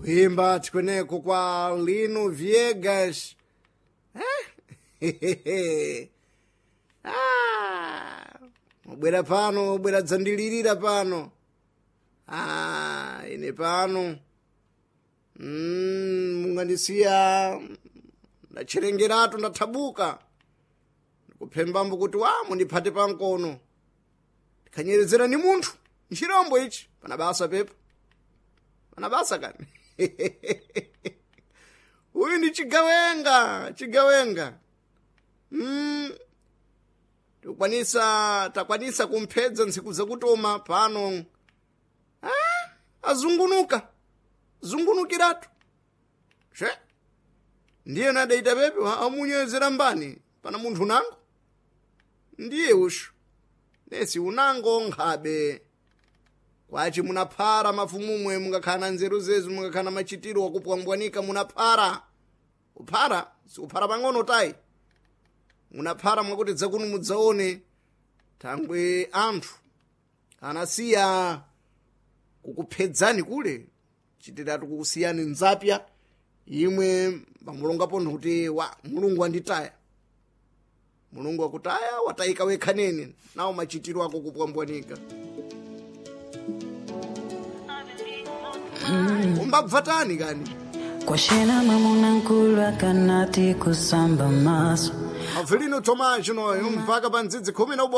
Kuimba tikweneko kwa Lino Viegas. Eh? Ah, mubwera pano, bwera dzandilirira pano. Ah, ine pano. Mungandisiya ndacherengeratu ndathabuka. Ndikuphembambo kuti wa mundiphate pamkono. Ndikhanyerezera ni munthu. Nchirombo ichi pana basa pepa. Pana basa kani. Uyu ndi chigawenga, chigawenga. Tikwanisa takwanisa kumphedza ntsiku zakutoma pano. Ah, azungunuka. Zungunukiratu. She. Ndiye nadaita pepe amunyezera mbani pana munthu unango. Ndiye ushu. Nesi unango nkhabe. Kwachi munaphara mafumumwe mungakhala na nzeru zezu mungakhala na machitiro wakupwambwanika munaphara. Kuphara sikuphara pang'ono tayi. Munaphara mwakuti dzakuno mudzaone thangwe anthu anasiya kukuphedzani kule chitiratu kukusiyani nzapya imwe pamulongapo kuti wa mulungu anditaya mulungu akutaya watayika wekha nene nawo machitiro ako kupwambwanika. Umbabvatani kani? Kwashena mamuna nkulu akanati kusamba maso. Avelino Tomás noyo mpaka pa ndzidzi 11.